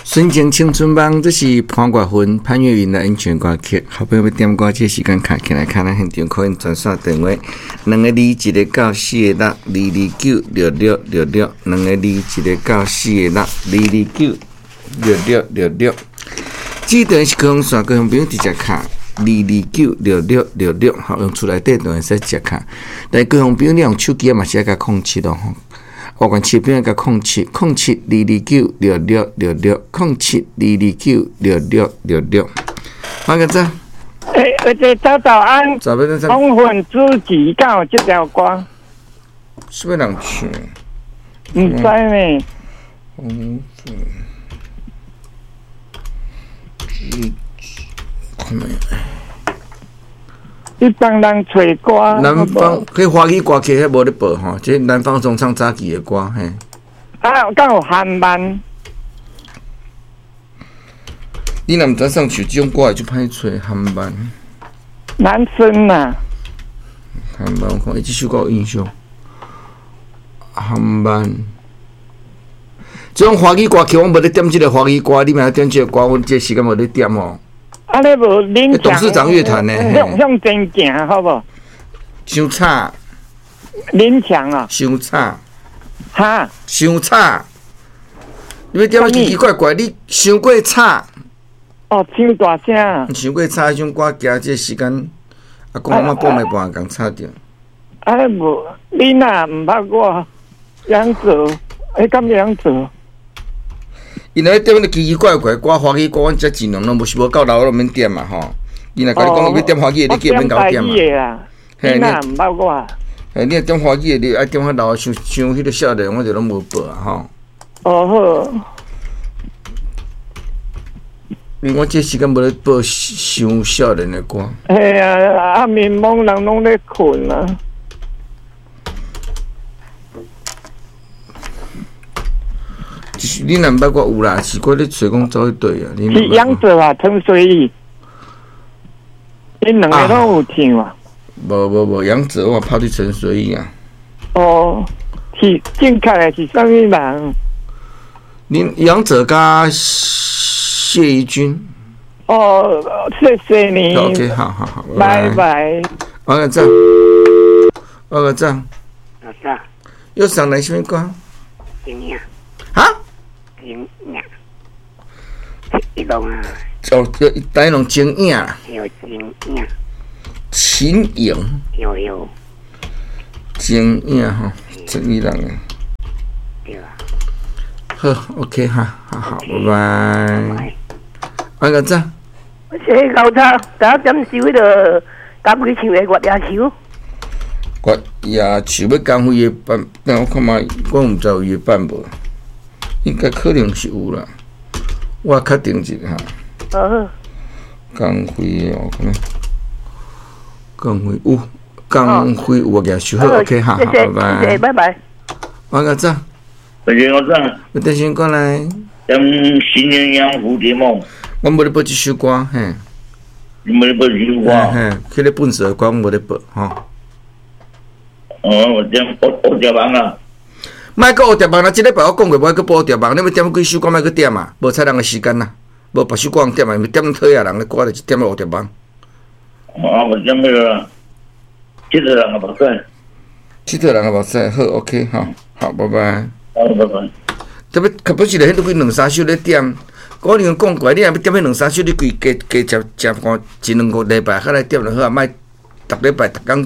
纯情青春梦，这是潘国芬、潘越云的演唱歌曲。好朋友欲点歌，这个时间敲起来，敲咱现场可以专线电话：两个二一个九四个六，二二九六六六六，两个二一个九四个六，二二九六六六六。这段是高雄线，高雄朋友直接敲二二九六六六六，好，用厝内底就会使直接敲。但高雄朋友你用手机嘛是爱共空七咯。外县市朋友共空七空七二二九六六六六空七二二九六六六六。马个早，欸，而且早早安。早安早。红粉知己敢有这条歌？啥物人唱？毋知呢。红粉知己，看觅。你帮人揣歌。南方，彼华语歌曲彼无咧报吼，这南方总唱早期的歌嘿。啊，敢有韩漫？你若毋知送唱这种歌会足歹揣韩漫。男生啊。韩漫，我看伊这首歌有印象。韩漫。这种华语歌曲，我无咧点这个华语歌，你嘛点这个歌，阮这个时间无咧点哦。啊！你无恁董事长乐团呢？向向前行，好无？伤吵。林强啊！伤吵。哈？伤吵。你欲点奇奇怪怪，你伤过吵。哦，伤大声。伤过吵，彼种歌行这个时间，啊，讲我半暝半共吵著。啊，无，你若毋捌我，杨做，欸，敢杨做？伊若咧点咧奇奇怪怪歌，华语歌，阮遮尽量拢无是无够老，拢免点嘛吼。伊若共你讲欲点华语的，你叫伊免共点嘛。嘿，你若毋捌我。嘿，你若点华语的，你爱点较老，伤伤彼个少年，我就拢无报啊吼。哦好。因为我这时间无咧报伤少年的歌。嘿啊，啊面懵人拢咧睏啊。你若毋捌我有啦，是我咧揣讲走去佗啊？是杨哲啊，陈随意，𪜶两个拢有唱啊。无无无，杨哲我拍对陈随意啊。哦，是正确的是啥物人？恁杨哲佮谢宜君。哦，谢谢你。 OK，好好好，拜拜。我个赞，我个赞。老师。又上来啥物歌？怎样？哈？情影，一龙啊！哦，叫台龙情影啦。有情影。情影。有有。情影吼，这伊人的。对啊。好，OK 哈，好好，拜拜。阿个早。我是老早，早点首彼个江辉唱的《月牙树》。月牙树欲江辉的版，等我看觅，我毋知有伊的版无。应该可能是有啦，我确定一下。哦。江辉哦，看觅，江辉有，江辉有个树好，OK 哈，好，拜拜。谢谢，拜拜。我个早。我早。我等先过来。点新鸳鸯蝴蝶梦。我无咧播这首歌，嘿。你无咧播这首歌？嘿，彼个笨蛇歌我无咧播，吼。哦，我点我蝴蝶梦啊。莫阁蝴蝶梦啦！这礼拜我讲过，无爱阁播蝴蝶梦。你欲点几首歌，莫阁点啊！无采人的时间啦，无别首歌通点啊，点讨厌人的歌就是点蝴蝶梦。啊，我点彼个，佚佗人的目屎。佚佗人的目屎，好，OK，好，好，拜拜。好，拜拜。特别，可不是咧，彼几两三首咧点。我已经讲过，你若欲点彼两三首，你规加加食食看一两个礼拜，较来点就好啊，莫逐礼拜逐工。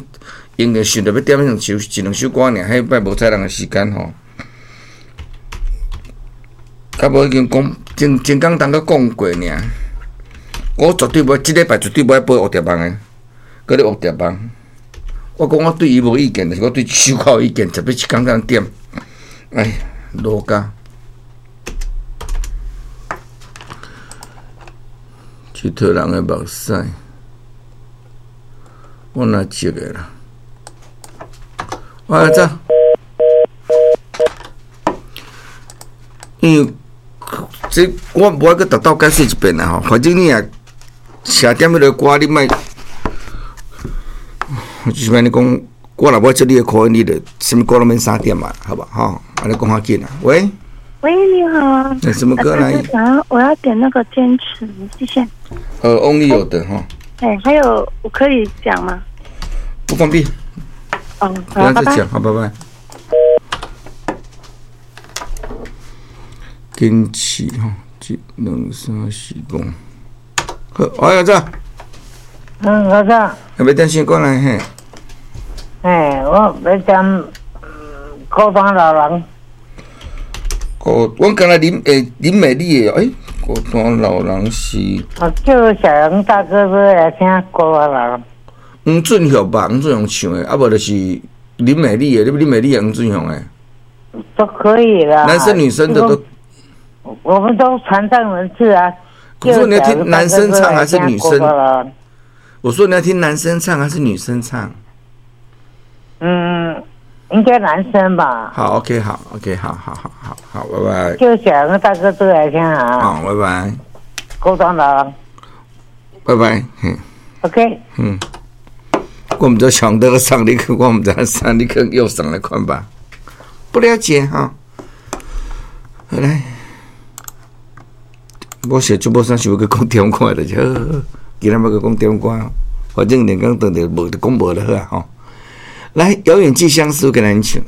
因为想著欲点彼两首一两首歌尔，彼摆无采人的时间吼。较无已经讲，前前工当阁讲过尔。我绝对无，这礼拜绝对无爱播蝴蝶梦的，阁咧蝴蝶梦。我讲我对伊无意见，但是我对这首歌有意见，特别一工通点。哎，落家。佚佗人的目屎，我哪接的啦？我来走，因为这我无爱阁逐道解释一遍啦吼。反正你若写点彼个歌，你莫，就是按呢讲，我若无接你的口音，你就啥物歌拢免三点嘛，好无吼？按呢讲较紧啊。喂，喂，你好。那什麼歌來？然後我要點那個堅持，謝謝。翁立友的哈。哎，還有我可以講嗎？不方便。哦，不要再講，好，拜拜。堅持哈，一、兩、三、四、五。好，哎呀，這。嗯，老張。欲點啥歌來嘿？哎，我欲點孤單老人。哦，阮敢若林美麗的，欸，孤單老人是。啊，叫小楊大哥哥來聽孤單老人。黃俊雄吧，黃俊雄唱的，啊無就是林美麗的，你林美麗的黃俊雄的。都可以啦。男生女生的都。我們都殘障人士啊。我說你要聽男生唱還是女生？我說你要聽男生唱還是女生唱？嗯，應該男生吧。好，OK，好，OK，好好好好好，拜拜。就小個大哥都來聽啊。好，拜拜。孤單老人。拜拜。 OK。嗯，我毋知上得上你去，我毋知上你去又上來看吧。不了解哈。好來，我寫就無啥想欲閣講點歌的，就好。今仔欲閣講點歌，反正連講當著無就講無就好啊吼。來，遙遠寄相思，給咱唱。